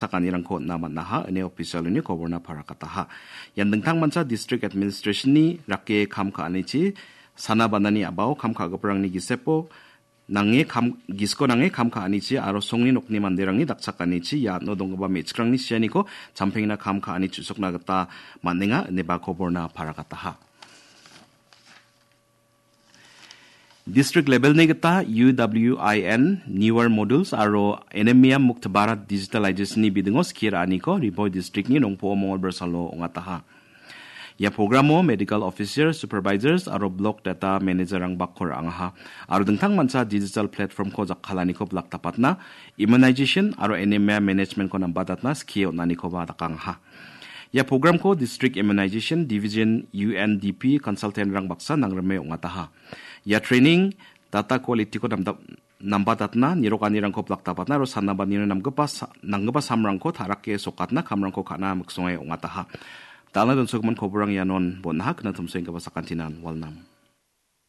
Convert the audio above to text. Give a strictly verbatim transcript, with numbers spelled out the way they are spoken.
sakanirangko on·na man·aha, ine official-oni koborna parakataha. Ian dingtangmancha district administration-ni rake kam ka·anichi, sana banani a·bao kam ka·giparangni gisepo nange kam, gisiko nange kam ka·anichi aro songni nokni manderangni dakchakanichi iano donggipa me·chikrangni sianiko champengna kam ka·ani chu·sokna gita man·enga, ineba koborna parakataha. District level-ni gita U W I N, newer modules aro Anemia Mukt Bharat Digitalization-ni bidingo skie ra·aniko Ri Bhoi District-ni nongpo·o Mongolbar salo ong·ataha. Ia programo medical officer, supervisors aro block data manager-rang bakko ra·angaha. Aro dingtangmancha digital platform-ko jakkalaniko blaktapatna, immunization aro anemia management-ko nambatatna skie on·anikoba dakangaha. Ia programko District Immunization Division, U N D P, consultant-rang baksa nangrime ong·ataha. Ia training data quality-ko namda-, nambatatna, nirokanirangko blaktapatna aro sanabanino namgipa sa-, nanggipa samrangko tarake sokatna kamrangko ka·na miksonge ong·ataha. Dal·na donsogimin koborang ianon bon·aha, kna tumsoenggipa sakantinan walnam.